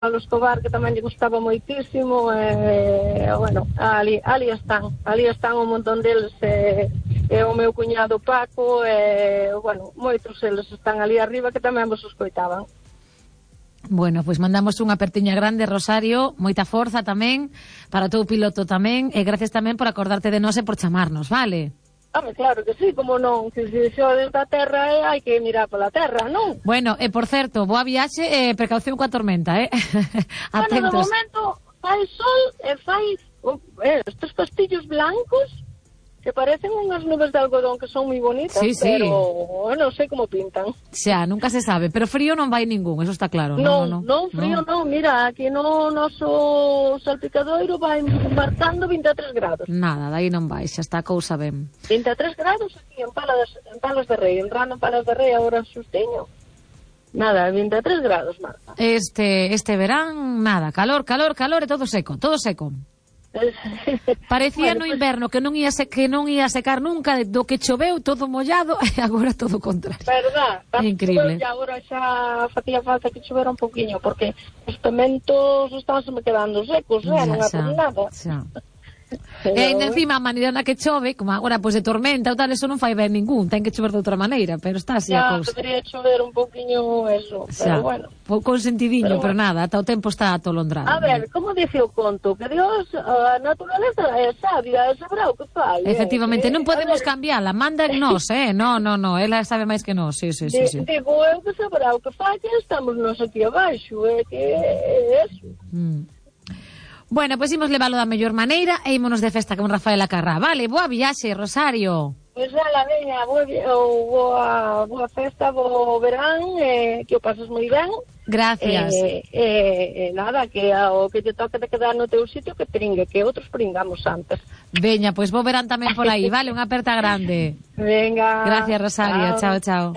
Pablo Escobar, que tamén lle gustaba moitísimo, bueno, ali están un montón deles, o meu cuñado Paco, bueno, moitos eles están ali arriba que tamén vos escoitaban. Bueno, pois mandamos unha apertiña grande, Rosario, moita forza tamén para o teu piloto tamén, e gracias tamén por acordarte de nós e por chamarnos, vale? Claro que sí, como non, que se xo desde a terra hai que mirar pola terra, non? Bueno, e por certo, boa viaxe e precaución coa tormenta, Bueno, de atentos. momento fai sol e fai estes castillos blancos que parecen unhas nubes de algodón que son moi bonitas, Sí. pero non sei como pintan. Xa, nunca se sabe, pero frío non vai ningún, eso está claro. Non, frío non, mira, aquí no noso salpicadoiro vai marcando 23 grados. Nada, dai non vai, xa está a cousa ben. 23 grados aquí en Palas de Rei, entrando en Palas de Rei agora xustiño. Nada, 23 grados, Marta. Este verán, nada, calor e todo seco. Parecía no inverno que non ia secar nunca, do que choveu todo mollado e agora todo o contrario. Verdad, increíble. E agora xa facía falta que chovera un poquinho porque os pementos estánse me quedando secos, non é por nada. E encima a maneira na que chove, como agora pois de tormenta ou tal, eso non fai ben ningún, ten que chover de outra maneira, pero está así a cousa. Debería chover un poquinho eso, pero bueno. Con sentidiño, pero nada, ata o tempo está atolondrado. A ver, como dice o conto, que Dios, a naturaleza é sabia, é sabrá o que fai. Efectivamente, non podemos cambiala, manda en nós, no, ela sabe máis que nós, sí. Digo, eu que sabrá o que fai, que estamos nós aquí abaixo, que é eso. Bueno, pois imos leválo da mellor maneira e ímonos de festa con Rafaela Carrá. Vale, boa viaxe, Rosario. Pois ala, veña, boa festa, bo verán, que o pases moi ben. Gracias. Nada, que o que te toque de quedar no teu sitio que pringue, que outros pringamos antes. Veña, pois bo verán tamén por aí, vale, unha aperta grande. Venga. Gracias, Rosario, chao.